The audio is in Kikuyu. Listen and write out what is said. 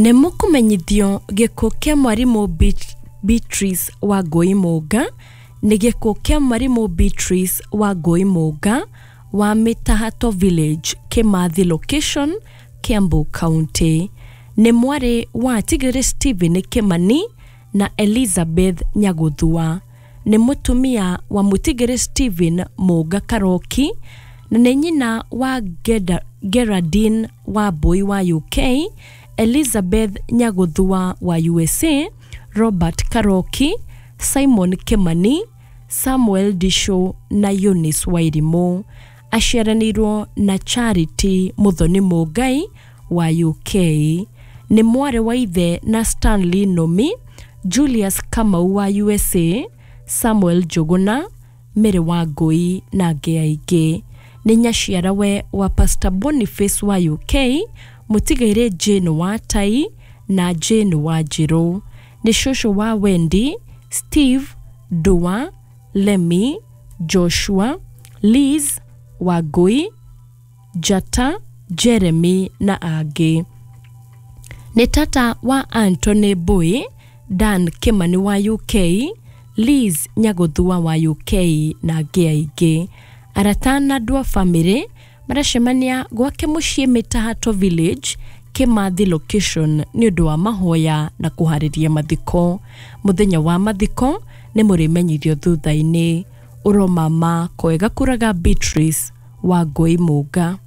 Nĩ mũkũmenyithio gĩkuũ kĩa mwarimũ Beatrice Wangũi Mũnga. Nĩ gĩkuũ kĩa mwarimũ Beatrice Wangũi Mũnga wa Mĩtahato Village, Kĩmathi Location, Kiambu County. Nĩ mwarĩ wa Tigĩrĩ Stephen Kĩmani na Elizabeth Nyagũthua. Nĩ mũtumia wa Mũtigĩrĩ Stephen Mũnga Karoki na nĩ nyina wa Geraldine Wambui wa UK, Elizabeth Nyagũthua wa USA, Robert Karoki, Simon Kĩmani, Samuel Disho na Eunice Wairimũ. Aciaranĩirwo na Charity Mũthoni Mũngai wa UK. Nĩ mwarĩ wa ithe na Stanley Nomi, Julius Kamau wa USA, Samuel Njũgũna, Mary Wangũi na angĩ aingĩ. Nĩ nyaciarawe wa Pastor Boniface wa UK, mũtigairĩ Jane wa Tai na Jane wa Njirũ. Nĩ cũcũ wa Wendy, Steve, Dua, Lemmy, Joshua, Liz, Wangũi, Njata, Jeremy na angĩ. Nĩ tata wa Anthony Mbui, Dan Kĩmani wa UK, Liz Nyagũthua wa UK na angĩ aingĩ. Arata na andũ a bamĩrĩ maracemania gwake mũciĩ Mĩtahato Village, Kĩmathi Location nĩ ũndũ wa mahoya na kũharĩria mathiko. Mũthenya wa mathiko nĩ mũrĩmenyithio thutha-inĩ. Ũromama kwega kũraga Beatrice Wangũi Mũnga.